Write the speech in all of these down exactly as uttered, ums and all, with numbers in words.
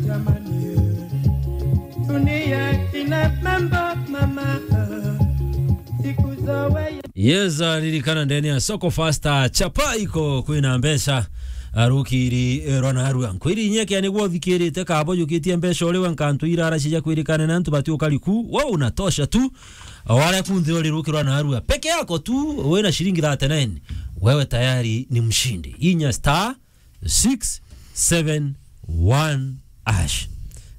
Jamani, dunia ina mambo mama, siku zoe. Yes, ah, ririkana ndene ya Soko Fasta, chapa iko kwina mbeca, arukiri, eh, rwa narua. Nkwiri inyeke niguo uthikirite kabo jukitie mbeca uri we nkantu irara cia kwirikana na antu bati ukariku, we unatosha tu. Wale kunthi uri rukirwa narua. Peke yako tu, wina shilingi thirty-nine. Wewe tayari ni mshindi. Inya star six seven one hash.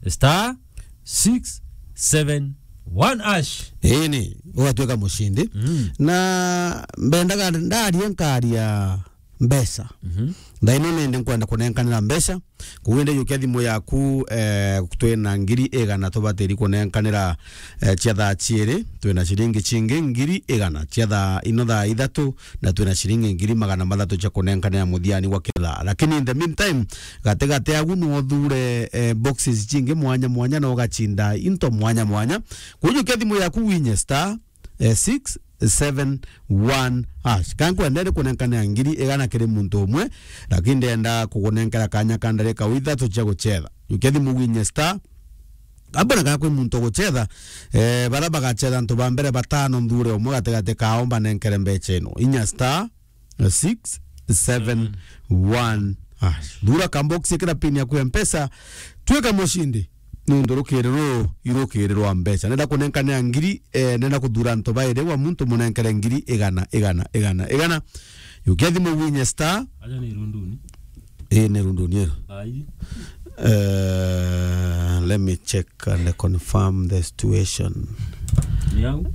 Star six seven one hash. Ini, ugatuika mushindi. Mm. Na mbendaga ndarie nkaria mbeca. Mhm. Thaa ino nindi nkwenda kunenkanira mbeca. Kuwinde yukia thimu yaku, eh, twina ngiri igana tubatiri kunenkanira, eh, cia thaa ciiri, twina ciringi cingi ngiri igana cia thaa ino thaa ithatu, na twina ciringi ngiri magana mathatu cia kunenkanira muthiani wa kithaa. Lakini in the meantime, gatigati agu no uthure, eh, boxes cingi mwanya mwanya, na ugacinda into mwanya mwanya. Kujukia thimu yaku winye star, eh, six seven one hash. Ka nkwenda ri kunenkanira ngiri igana kiri muntu umwe, lakini ndenda kugunenkera kanya ka ndarika ithatu cia gucetha. Jukia thimu winye star, kabona ka kwi muntu ugucetha, eh, bara bagacetha antu ba mbere batano nthure umwe gatigati kao mbanenkere mbeca ino. Inya star, eh, six seven one hash. Thura ka box, ikira pin yaku ya Mpesa, twika mushindi. Nuntu rukiri ruru irukiri rwa mbeca. Nenda kunenkanira ngiri, eh, nenda kuthura antu bairi wa muntu munenkere ngiri igana, igana, igana, igana. Jukia thimu winye star. Aja ni runduni. Ii, ni runduni ino. Ai. Eh, let me check and confirm the situation. Ni au?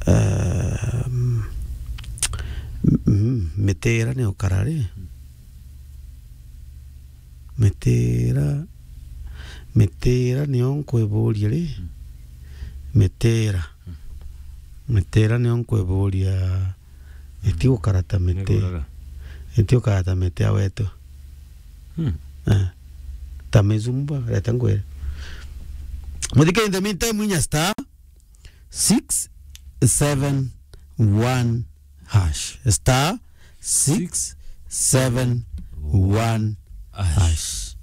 Ehm, mm, mitira ni ukara ri? Mitira, mitira niyo nkwiburia ri? Mitira. Mitira niyo nkwiburia. Iti gukara ta miti. Niguraga. Iti gukara ta miti ya wetu. Hmm. Eh. Ta mizumba, reta ngwire. Muthike, in the meantime, inya star six seven one hash. Star six seven one hash.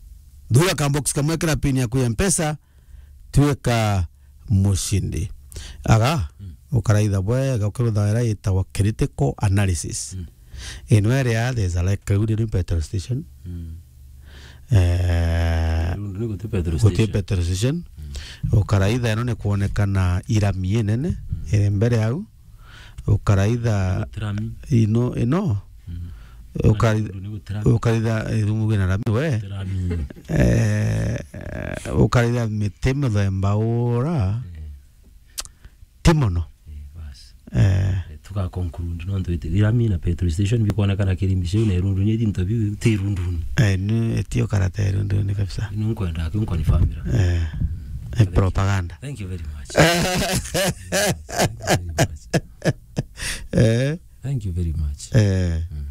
Thura ka box kamwe, ikira pin yaku ya Mpesa, twika mushindi. Aga, mm, ukaraitha bwega, ukirutha ira itagwa critical analysis. Mm. Ino iri ya, there's a, like, riu ni petrol station. Mm. Eh, riu ni guti petrol station. Guti petrol station. Mm. Ukaraitha ino ni kwonekana irami inene, mm, iri mbere au. Ukaraitha ino, ino. Mm. Ukari-, ukaritha, eh, rungu gwina rami we. Rami. Eh, ukaritha miti muthemba ura. Eh. Ti mono. Eh, bas. Eh. Eh, tuga conclude, nontu iti, irami na petrol station bikwonekana kirimi ciu na irunduni, iti into biu ti irunduni. Eh, ni, itio karata irunduni kabisa. Ni nkwenda, ki nkonifamira. Eh. Eh, propaganda. Thank you very much. Thank you very much. Eh. Thank you very much. Eh. Mm.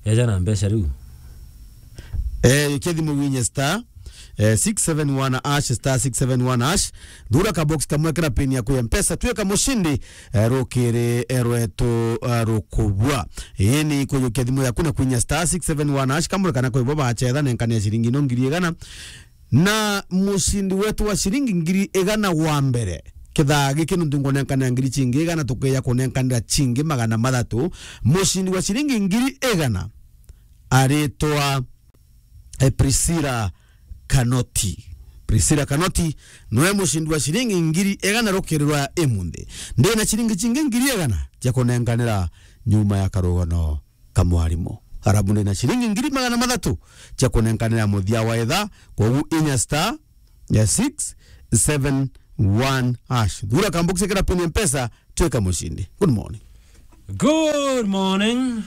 Eja na mbeca riu. Eh, jukia thimu winye star, eh, six seven one hash, star six seven one hash. Thura ka box kamwe, ikira pin yaku ya Mpesa, twika mushindi, eh, rukiri, eh, rwetu, eh, rukubua. Ini kujukia thimu yaku na kwinya star six seven one hash, kamwe kana kwibo bacetha, nenkania ciringi ino ngiri igana. Na mushindi wetu wa ciringi ngiri igana wa mbere, kithaa giki nuntu nkunenkanira ngiri cingi igana, tukeja kunenkanira cingi magana mathatu. Mushindi wa ciringi ngiri igana aritwa, eh, Priscilla Kanoti. Priscilla Kanoti niwe mushindi wa ciringi ngiri igana rukiri rwa imunthi. Ndina ciringi cingi ngiri igana cia kunenkanira nyuma ya karugano ka mwarimu. Arabu ndina ciringi ngiri magana mathatu cia kunenkanira muthia wa ithaa, kwogu inya star ya six seven one hash. Thura ka box, ikira pin ya Mpesa, twika mushindi. Good morning. Good morning.